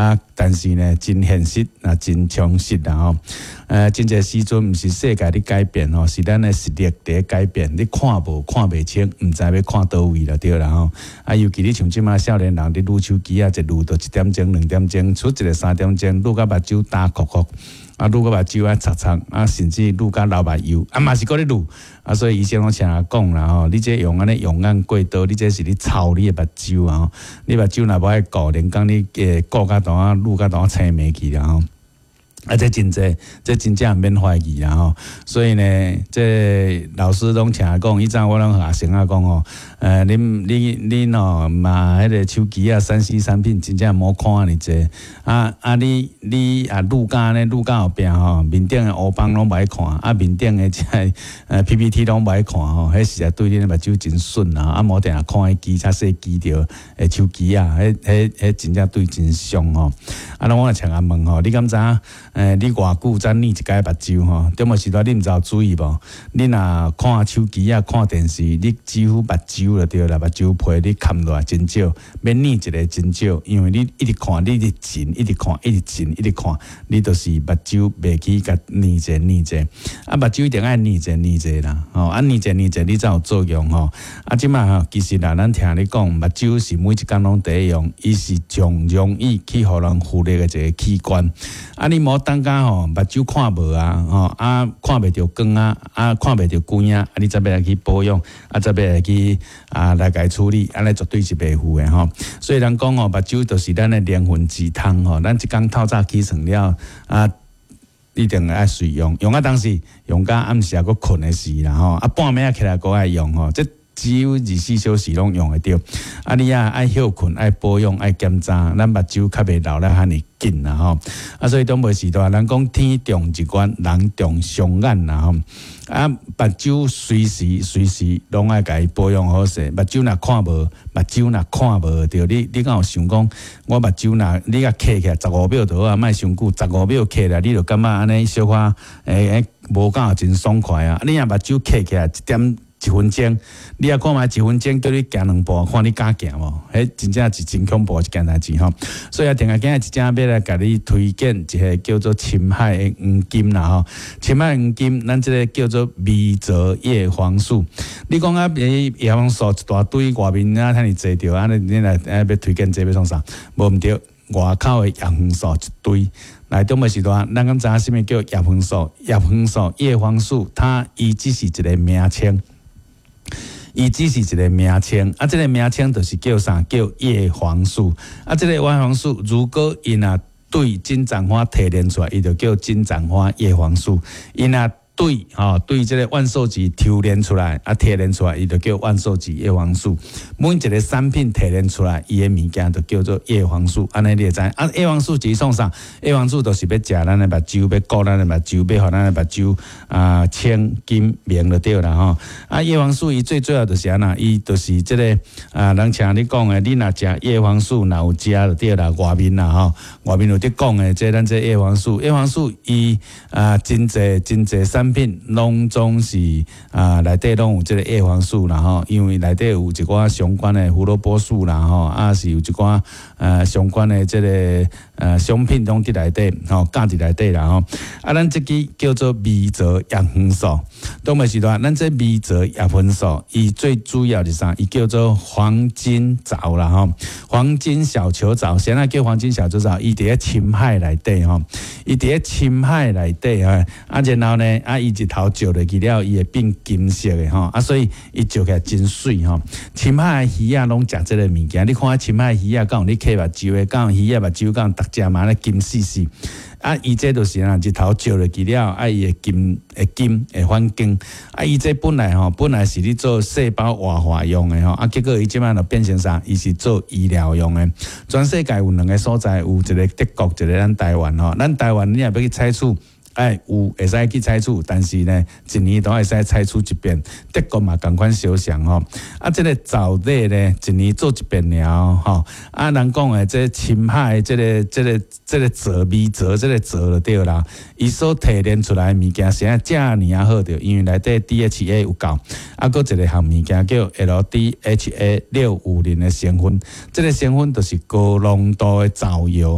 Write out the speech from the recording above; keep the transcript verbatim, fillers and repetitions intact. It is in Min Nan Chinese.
啊，但是呢，真現實啊，真充實啦吼。呃，真濟時陣毋是世界咧改變吼，是咱的實力佇改變。你看無看袂清，毋知欲看佗位啦，對啦吼。啊，尤其你像這馬少年人佇擼手機啊，一擼就一點鐘、兩點鐘，出一个三點鐘，擼甲目睭焦箍箍，啊，擼甲目睭啊擦擦，啊，甚至擼甲流目油，啊嘛是閣咧擼。啊，所以醫生攏成日講啦吼，你這用按呢用眼過度，你這是咧操你的目睭啊！你目睭若無愛顧，連講你會顧甲當啊，擼甲當青眉去啦吼。啊，這真濟，這真正毋免懷疑啦吼。所以呢，這老師攏成日講，以前我攏學生仔講吼，呃，恁你恁吼嘛，彼个手機啊，三 C 產品真正莫看按呢濟。啊啊，你你啊，擼甲按呢，擼甲後壁吼，面頂的烏枋攏無愛看，啊，面頂的這个呃 P P T 攏無愛看吼，彼實在對恁目睭真損啊！啊，無定定看彼支較細支著的手機啊，彼彼彼真正對真傷吼。啊，那我來請阿問吼，你敢知影？欸，你偌久才睨一擺目睭吼？中無時代你毋知有注意無？你若看手機啊，看電視，你幾乎目睭就對啦，目睭皮你崁落來真少，欲睨一个真少，因為你一直看，你一直前，一直看，一直前，一直看，你就是目睭袂去共睨一下睨一下。啊，目睭一定愛睨一下睨一下啦，吼，啊，睨一下睨一下，你才有作用吼。啊，這馬吼，其實啦，咱聽你講，目睭是每一工攏佇用，伊是上容易去予人忽略的一个器官。啊，你莫等甲吼目睭看無啊，吼啊看袂著光啊，啊看袂著光啊，啊你才欲來去保養，啊才欲來去啊來共伊處理，按呢絕對是袂赴的吼。所以人講吼，目睭就是咱的靈魂之窗吼，咱一工透早起床了啊，一定愛隨用，用啊當時用甲暗時猶閣睏的時啦吼，啊半暝仔起來閣愛用吼，這只有二十四小時攏用會著。啊，你啊愛歇睏、愛保養、愛檢查，咱目睭較袂老得遐爾緊啦吼。啊，所以長輩時代，人講天長日遠，人長雙眼啦吼。啊，目睭隨時隨時攏愛共伊保養好勢。目睭若看無，目睭若看無著，你你敢有想講，我目睭若你共瞌起來十五秒就好啊，莫傷久，十五秒瞌來，你就感覺按呢小可會會無敢真爽快啊。你若目睭瞌起來一點一分鐘，你也看覓一分鐘叫你行兩步，看你敢行無？彼真正是真恐怖一件代誌吼。所以啊，定下今日一正欲來共你推薦一个叫做深海的黃金啦吼。深海黃金，咱這个叫做微藻葉黃素。你講啊，葉黃素一大堆，外面啊遐爾濟著，按呢你來啊欲推薦這欲創啥？無毋對，外口的葉黃素一堆。來，中尾時段，咱敢知影啥物叫葉黃素？葉黃素、葉黃素，它伊只是一个名稱。伊只是一个名稱，啊，這个名稱就是叫啥？叫葉黃素。啊，這个葉黃素，如果伊若對金盞花提煉出來，伊就叫金盞花葉黃素。伊若對吼，對這个萬壽菊抽煉出來，啊，提煉出來，伊就叫萬壽菊葉黃素。每一个產品提煉出來，伊的物件就叫做葉黃素。按呢你會知？啊，葉黃素是創啥？葉黃素就是欲食咱的目睭，欲顧咱的目睭，欲予咱的目睭啊清金明就對啦吼。啊，葉黃素伊最主要就是按怎？伊就是這个啊，人像你講的，你若食葉黃素，若有食就對啦。外面啦吼，外面有佇講的，這咱這葉黃素，葉黃素伊啊真濟真濟產品攏總是啊內底攏有這个葉黃素啦吼，因為內底有一寡相關的胡蘿蔔素啦吼，啊是有一寡呃相關的這个呃商品攏佇內底吼，加佇內底啦吼。啊，咱這支叫做微藻葉黃素，當尾時段，咱這微藻葉黃素，伊最主要是啥？伊叫做黃金藻啦吼，黃金小球藻，啥物叫黃金小球藻？伊佇咧深海內底吼，伊佇咧深海內底啊，啊然後呢，啊伊日頭照落去了，伊會變金色的吼，啊所以伊照起來真媠吼。深海的魚仔攏食這个物件，你看深海魚仔敢有咧瞌目睭的，敢有魚仔目睭敢有逐隻嘛咧金絲絲。啊，伊這就是啊，日頭照落去了，啊，伊會金會金會反光。啊，伊這本來吼，本來是咧做細胞活化用的吼，啊，結果伊這擺就變成啥？伊是做醫療用的。全世界有兩个所在，有一个德國，一个咱台灣吼。咱台灣你若欲去採取，哎，有會使去採取，但是呢，一年都會使採取一遍。德國嘛仝款相像吼。啊，這个藻類呢，一年做一遍爾吼。啊，人講的這深海的這个、這个、這个藻微藻，這个藻就對啦。伊所提煉出來的物件是按遮爾仔好著，因為內底 D H A 有夠。啊，閣一个項物件叫 L D H A 六五零的成分，這个成分就是高濃度的藻油。